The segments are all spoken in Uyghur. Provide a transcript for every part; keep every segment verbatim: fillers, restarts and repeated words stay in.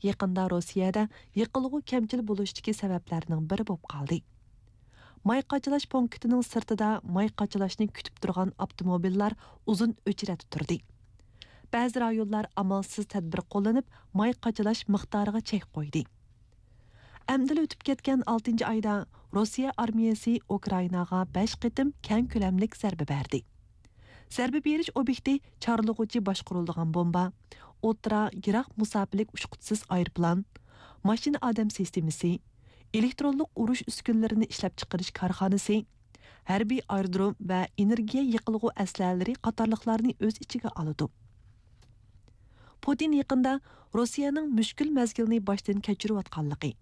يېقىندا روسىيەدە يېقىلغۇ كەمچىل بولۇشتىكى سەۋەبلەرنىڭ بىرى بولۇپ قالدى. ماي قاچىلاش پونكىتىنىڭ سىرتىدا ماي قاچىلاشنى كۈتۈپ تۇرغان ئاپتوموبىللار ئۇزۇن ئۆچرەتتە تۇردى. بەزى رايونلار ئامالسىز تەدبىر قوللىنىپ، ماي قاچىلاش مىقدارىغا چەك قويدى. ئەمدىلا ئۆتۈپ كەتكەن ئالتىنچى ئايدا روسىيە ئارمىيەسى ئۇكرائىناغا بەش قېتىم كەڭ كۆلەملىك زەربە بەردى. زەربە بېرىش ئوبيېكتى چارلىغۇچى باشقۇرۇلىدىغان بومبا، ئوتتۇرا، يىراق مۇساپىلىك ئۇچقۇچىسىز ئايروپىلان، ماشىنا ئادەم سىستېمىسى، ئېلېكترونلۇق ئۇرۇش ئۈسكۈنىلىرىنى ئىشلەپچىقىرىش كارخانىسى، ھەربىي ئايرودروم ۋە ئېنېرگىيە يېقىلغۇ ئەسلىھەلىرى قاتارلىقلارنى ئۆز ئىچىگە ئالىدۇ. پۇتىن يېقىندا روسىيەنىڭ مۈشكۈل مەزگىلنى باشتىن كەچۈرۈۋاتقانلىقى،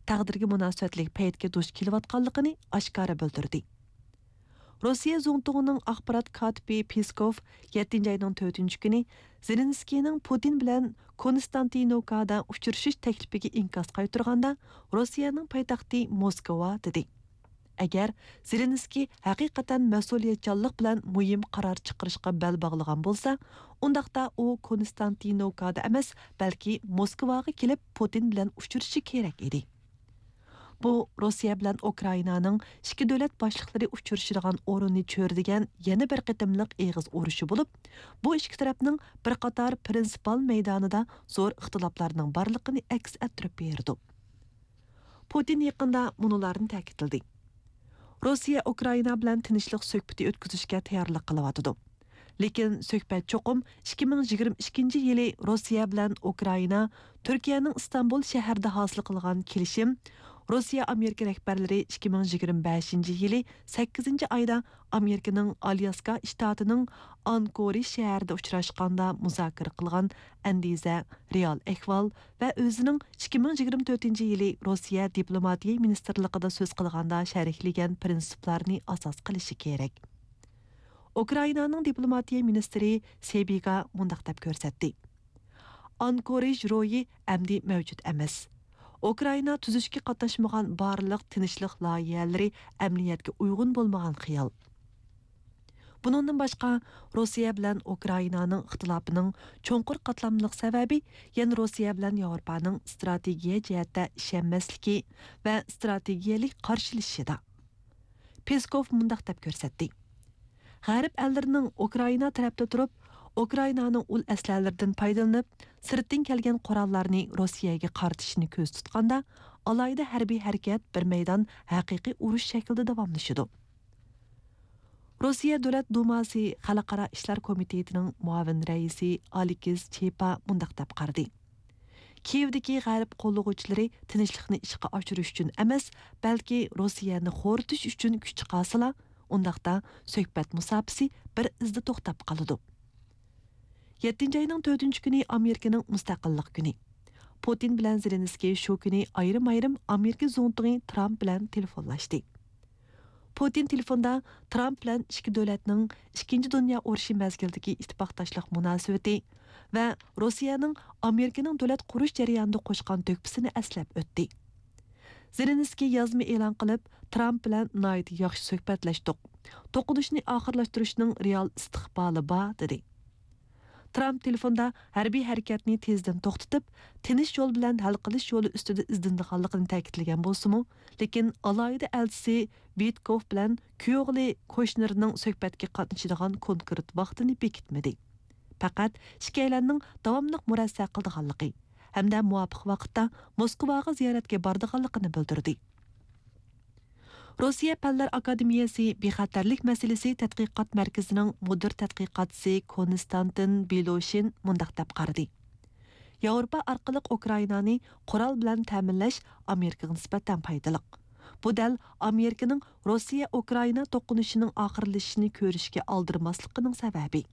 تەقدىرگە مۇناسىۋەتلىك پەيتكە دۇچ كېلىۋاتقانلىقىنى ئاشكارا بىلدۈردى. روسىيە زۇڭتۇڭىنىڭ ئاخبارات كاتىپى پېسكوف يەتتىنچى ئاينىڭ تۆتىنچى كۈنى زېلېنسكىينىڭ پۇتىن بىلەن كونستانتىنوكادا ئۇچرىشىش تەكلىپىگە ئىنكاس قايتۇرغاندا، روسىيەنىڭ پايتەختى موسكۋا، دېدى. ئەگەر زېلېنسكىي ھەقىقەتەن مەسئۇلىيەتچانلىق بىلەن مۇھىم قارار چىقىرىشقا بەل باغلىغان بولسا، ئۇنداقتا ئۇ كونستانتىنوكادا ئەمەس، بەلكى موسكۋاغا كېلىپ پۇتىن بىلەن ئۇچرىشىشى كېرەك ئىدى. بۇ روسىيە بىلەن ئۇكرائىنانىڭ ئىككى دۆلەت باشلىقلىرى ئۇچرىشىدىغان ئورۇننى چۆرىدىگەن يەنە بىر قېتىملىق ئېغىز ئۇرۇشى بولۇپ، بۇ ئىككى تەرەپنىڭ بىر قاتار پرىنسىپال مەيدانىدا زور ئىختىلاپلارنىڭ بارلىقىنى ئەكس ئەتتۈرۈپ بېرىدۇ. پۇتىن يېقىندا مۇنۇلارنى تەكىتلىدى: روسىيە ئۇكرائىنا بىلەن تىنچلىق سۆھبىتى ئۆتكۈزۈشكە تەييارلىق قىلىۋاتىدۇ. لېكىن سۆھبەت چوقۇم ئىككى مىڭ يىگىرمە ئىككىنچى يىلى روسىيە بىلەن ئۇكرائىنا، تۈركىيەنىڭ ئىستانبۇل شەھىرىدە ھاسىل قىلغان كېلىشىم، روسىيە ئامېرىكا رەھبەرلىرى ئىككى مىڭ يىگىرمە بەشىنچى يىلى سەككىزىنچى ئايدا ئامېرىكىنىڭ ئالياسكا شتاتىنىڭ ئانكورىج شەھىرىدە ئۇچراشقاندا مۇزاكىرە قىلغان ئەندىزە، رېئال ئەھۋال ۋە ئۆزىنىڭ ئىككى مىڭ يىگىرمە تۆتىنچى يىلى روسىيە دىپلوماتىيە مىنىستىرلىقىدا سۆز قىلغاندا شەرھلىگەن پرىنسىپلارنى ئاساس قىلىشى كېرەك. ئۇكرائىنانىڭ دىپلوماتىيە مىنىستىرى سېبىگا مۇنداق دەپ كۆرسەتتى: ئانكورىج روھى ئەمدى مەۋجۇت ئەمەس. ئۇكرائىنا تۈزۈشكە قاتناشمىغان بارلىق تىنچلىق لايىھەلىرى ئەمەلىيەتكە ئۇيغۇن بولمىغان خىيال. بۇنىڭدىن باشقا، روسىيە بىلەن ئۇكرائىنانىڭ ئىختىلاپىنىڭ چوڭقۇر قاتلاملىق سەۋەبى يەنە روسىيە بىلەن ياۋروپانىڭ ئىستراتېگىيە جەھەتتە ئىشەنمەسلىكى ۋە ئىستراتېگىيەلىك قارشىلىشىشىدا. پېسكوف مۇنداق دەپ كۆرسەتتى: غەرب ئەللىرىنىڭ ئۇكرائىنا تەرەپتە تۇرۇپ، ئۇكرائىنانىڭ ئۇل ئەسلىھەلىرىدىن پايدىلىنىپ، سىرتتىن كەلگەن قوراللارنى روسىيەگە قارىتىشىنى كۆزدە تۇتقاندا، ئالاھىدە ھەربىي ھەرىكەت بىر مەيدان ھەقىقىي ئۇرۇش شەكلىدە داۋاملىشىدۇ. روسىيە دۆلەت دۇماسى خەلقئارا ئىشلار كومىتېتىنىڭ مۇئاۋىن رەئىسى ئالېكس چېپا مۇنداق دەپ قارىدى: كىيېۋدىكى غەرب قوللىغۇچىلىرى تىنچلىقنى ئىشقا ئاشۇرۇش ئۈچۈن ئەمەس، بەلكى روسىيەنى خورىتىش ئۈچۈن كۈچ چىقارسىلا، ئۇنداقتا سۆھبەت مۇساپىسى بىر ئىزدا توختاپ قالىدۇ. يەتتىنچى ئاينىڭ تۆتىنچى كۈنى ئامېرىكىنىڭ مۇستەقىللىق كۈنى. پۇتىن بىلەن زېلېنسكىي شۇ كۈنى ئايرىم-ئايرىم ئامېرىكا زۇڭتۇڭى ترامپ بىلەن تېلېفونلاشتى. پۇتىن تېلېفوندا ترامپ بىلەن ئىككى دۆلەتنىڭ ئىككىنچى دۇنيا ئۇرۇشى مەزگىلىدىكى ئىتتىپاقداشلىق مۇناسىۋىتى ۋە روسىيەنىڭ ئامېرىكىنىڭ دۆلەت قۇرۇش جەريانىدا قوشقان تۆھپىسىنى ئەسلەپ ئۆتتى. زېلېنسكىي يازما ئېلان قىلىپ، ترامپ بىلەن ناھايىتى ياخشى سۆھبەتلەشتۇق. توقۇنۇشنى ئاخىرلاشتۇرۇشنىڭ رېئال ئىستىقبالى بار، دېدى. ترامپ تېلېفوندا ھەربىي ھەرىكەتنى تېزدىن توختىتىپ، تىنچ يول بىلەن ھەل قىلىش يولى ئۈستىدە ئىزدىنىدىغانلىقىنى تەكىتلىگەن بولسىمۇ، لېكىن ئالاھىدە ئەلچىسى ۋىتكوف بىلەن كۈيئوغلى كوشنېرنىڭ سۆھبەتكە قاتنىشىدىغان كونكرېت ۋاقتىنى بېكىتمىدى. پەقەت ئىككىيلەننىڭ داۋاملىق مۇرەسسە قىلىدىغانلىقى ھەمدە مۇۋاپىق ۋاقىتتا موسكۋاغا زىيارەتكە بارىدىغانلىقىنى بىلدۈردى. روسىيە پەنلەر ئاكادېمىيەسى بىخەتەرلىك مەسىلىسى تەتقىقات مەركىزىنىڭ مۇدىر تەتقىقاتچىسى كونستانتىن بىلوشىن مۇنداق دەپ قارىدى: ياۋروپا ئارقىلىق ئۇكرائىنانى قورال بىلەن تەمىنلەش ئامېرىكىغا نىسبەتەن پايدىلىق. بۇ دەل ئامېرىكىنىڭ روسىيە ئۇكرائىنا توقۇنۇشىنىڭ ئاخىرلىشىشىنى كۆرۈشكە ئالدىرىماسلىقىنىڭ سەۋەبى.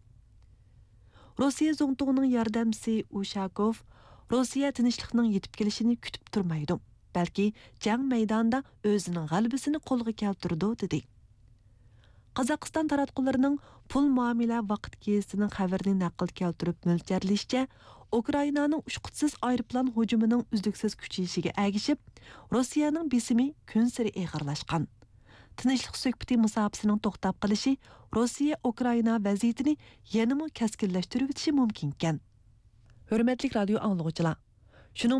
روسىيە زۇڭتۇڭىنىڭ ياردەمچىسى ئۇشاكوف، روسىيە تىنچلىقنىڭ يېتىپ كېلىشىنى كۈتۈپ تۇرمايدۇ، بەلكى جەڭ مەيدانىدا ئۆزىنىڭ غەلىبىسىنى قولغا كەلتۈرىدۇ، دېدى. قازاقىستان تاراتقۇلىرىنىڭ پۇل مۇئامىلە ۋاقىت گېزىتىنىڭ خەۋىرىنى نەقىل كەلتۈرۈپ مۆلچەرلىشىچە، ئۇكرائىنانىڭ ئۇچقۇچىسىز ئايروپىلان ھۇجۇمىنىڭ ئۈزلۈكسىز كۈچىيىشىگە ئەگىشىپ، روسىيەنىڭ بېسىمى كۈنسېرى ئېغىرلاشقان. تىنچلىق سۆھبىتى مۇساپىسىنىڭ توختاپ قېلىشى روسىيە ئۇكرائىنا ۋەزىيىتىنى يەنىمۇ كەسكىنلەشتۈرۈۋېتىشى مۇمكىنكەن. ھۆرمەتلىك رادىيو ئاڭلىغۇچىلار، شۇنىڭ